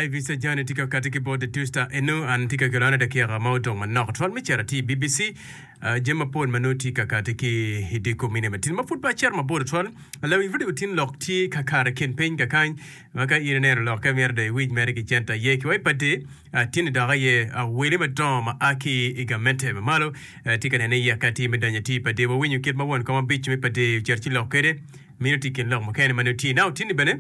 Ivy Sajani tye ka kati ki bot The Tusta eno an tye ka kelo an dakika ma odong manok twal me cito atir i BBC. Uh, jami mapol ma nongo tye ka kati ki i dye kom mine matin ma pud pe acito mabor twal. Lawiny radio tin lok tye ka kato i kin piny kakany ma ka in ineno lokke myero dong iwiny mere ki cente aye ki wa i padi uh, tin dok aye uh, wele madongo ma a ki i gamente ma malo uh, tye ka nene yeke atir me donyo atir i padi. Wawinyo kit ma won kom abic me padi ocito ci lok kwede mino tye i kin lok mukene ma nongo tye. Now tin-ni bene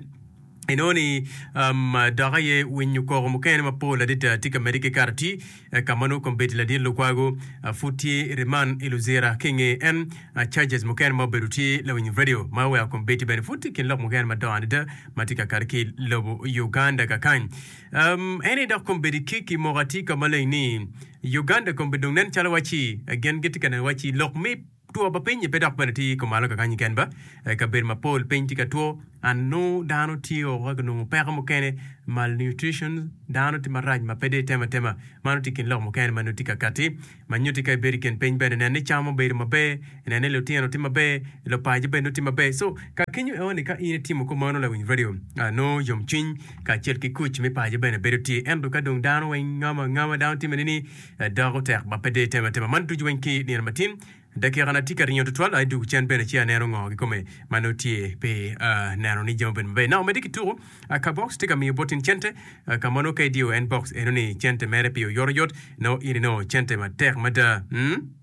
Inongo ni um, dok aye winyo koko mukene mapol adada tye ka medde ki kato ti ka ma nongo kombeddi ladit Lukwago uh, pud tye i riman i Luzira ki inge en uh, charges mukene ma obedo tye lawiny radio ma oweko kombeddi bene pud tye i kin lok mukene madongo adada ma tye ka kato ki i lobo Uganda kakany. Um, en aye dok kombeddi ki kimoko atir ka maleng ni Uganda kombeddi dong nen calo wacci gin gitye ka neno wacci lok me Two pa piny-nyi pe dok bene tye kumalo kakany keken ba. I kabedo mapol piny tye ka two and nongo dano tye woko ka ginongo peko mukene, malnutrition, dano tye marac ma pe dong itemo atema. Mano tye i kin lok mukene ma nongo tye ka kati ma nyutti ka ibedo i kin piny bene nen ni cam obedo maber, nen ni lutino tye maber, lupaco bene nongo tye maber. So ka kenyo eo ni ka in itimo kumano lawiny radio nongo yomcwiny kacel ki kuc me paco bene bedo tye. Ento ka dong dano weng ngamo angama dano timme ni Doko tek ma pe dong itemo atema man ducu weng ki nino matin. Dakikana tye ka ringo tutwal, adwogo cen bene ci aneno ngo kikome ma nongo tye pi neno ni jami obedo maber. Now medde ki tuko, ka box tye ka miyo bot in cente, ka ma nongo ka idiyo en box eno ni cente mere pi oyotoyot, nongo in inongo cente matek mada. Mm?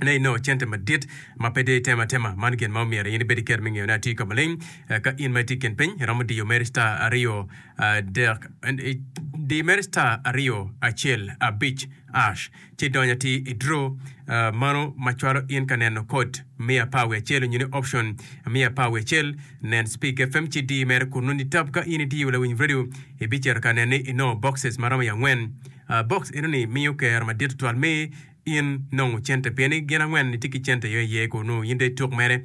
Ne inongo cente madit ma pe dong itemo atema. Man gin ma omyero in ibed iket me ngeyone atir ka maleng. Ka in ma itye i kin piny, iromo diyo mere star aryo adek, di mere star aryo acel abic ash ci idonyo atir i draw mano ma cwalo in ka neno kod miya apar wiye acel onyo ni option miya apar wiye acel. Nen Speak FM ci di mere kunnu ni tab ka in idiyo lawiny radio ibicito ka neno ni inongo boxes ma romo i angwen. Box eno ni miyo kero madit tutwal me In nongo cente pien ni gin angwen itye ki cente yo iye kunu in dong ituk mere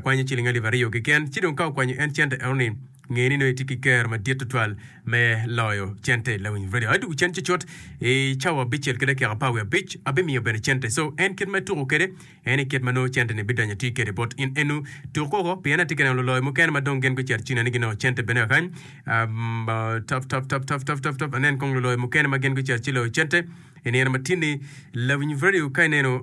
kwanyo ciling alip aryo keken ci dong ka okwanyo en cente eno ni nge ni nongo itye ki kero madit tutwal me loyo cente lawiny radio adwogo cen cucut i cawa abicel ki dakika apar wiye abic abimiyo bene cente so en kit ma ituko kwede en i kit ma nongo cente ni bidonyo atir kwede bot in enu tuk koko pien atye ka neno luloyo mukene ma dong gin gucito cina ni ginongo cente bene kakany um, tap tap tap tap tap tap tap anen kong luloyo mukene ma gin gucito ci loyo cente I nino ma tin-ni, lawiny redio ka ineno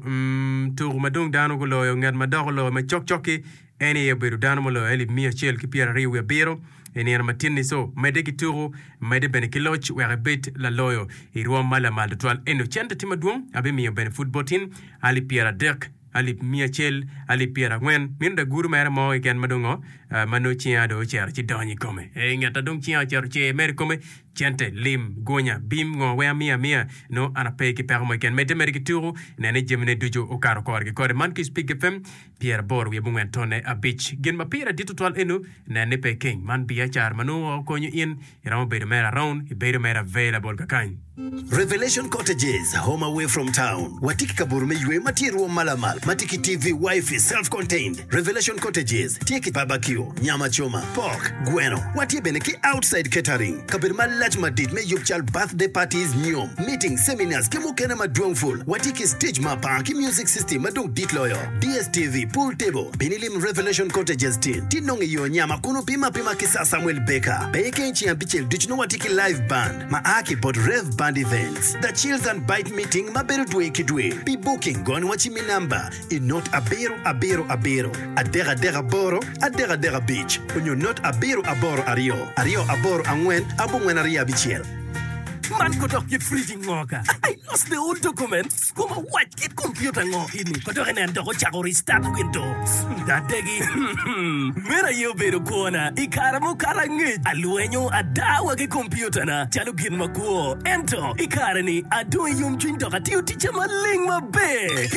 tuko ma dong dano guloyo, ngat ma dok oloyo ma cokcok-ki en aye obedo dano muloyo alip miya acel ki pyeraryo wiye abiro i nino ma tin-ni. Co, medde ki tuko, medde bene ki loc wek ibed laloyo i rwom ma lamal tutwal. Ento cente tye madwong, abimiyo bene pud bot in alip pyeradek, alip miya acel, alip pyerangwen. Meno dagudo mere mo keken ma dong ngo, ma nongo cinga dong ocito ci donyo i kome. Ee, ngat a dong cinga ocito ce mere i kome, Cente, lim, gunya, bim, ngo weng amiyo amiya, nongo an ape ki peko mo keken. Medde mere ki tuku, nen ni jamine ducu okato kore ki kore. Man ki Spik FM pyeraboro wiye abongwen tonne abic. Gin ma pire dit tutwal enu, nen ni pe ikeng. Man biacara ma nongo okonyo in, iromo bedo mere around, ibedo mere available kakany. Revelation Cottages, Home away from town. Watye ki kabuto me yweyo ma tye i rwom ma lamal, ma tye ki TV, Wi-Fi, self-contained. Revelation Cottages tye ki barbecue, nyama coma, pork, gweno. Watye bene ki outside catering, kabedo malac madit me yub cal birthday parties, nyom, meetings, seminars ki mukene madwong pul. Watye ki stage ma apar ki music system ma dong dit loyo, DSTV, pool table. Bin ilim Revelation Cottages tin, ti nongo i yo nyama kun wupim apima ki Sir Samuel Baker. Pe ikeng ceng abicel ducu nongo watye ki live band ma a ki bot Rev Band Events. The Chills and Bite Meeting ma bedo dwe ki dwe. Pi booking gony wa ci mi namba i not abiro abiro abiro adek adek aboro adek adek abic onyo not abiro aboro aryo aryo aboro angwen abongwen aryo abicel. Man ko dok kit fridge ngo ka? I lost the old documents. Koma wac kit computer ngo ini? Ko dok inen dok ocako restart windows. Adegi. Meno aye obedo kwona i kare mukato angec. Alwenyo ada wa ki computer na calo gin makwo. Ento i kare-ni adong i yomcwiny dok atiyo ticca maleng maber.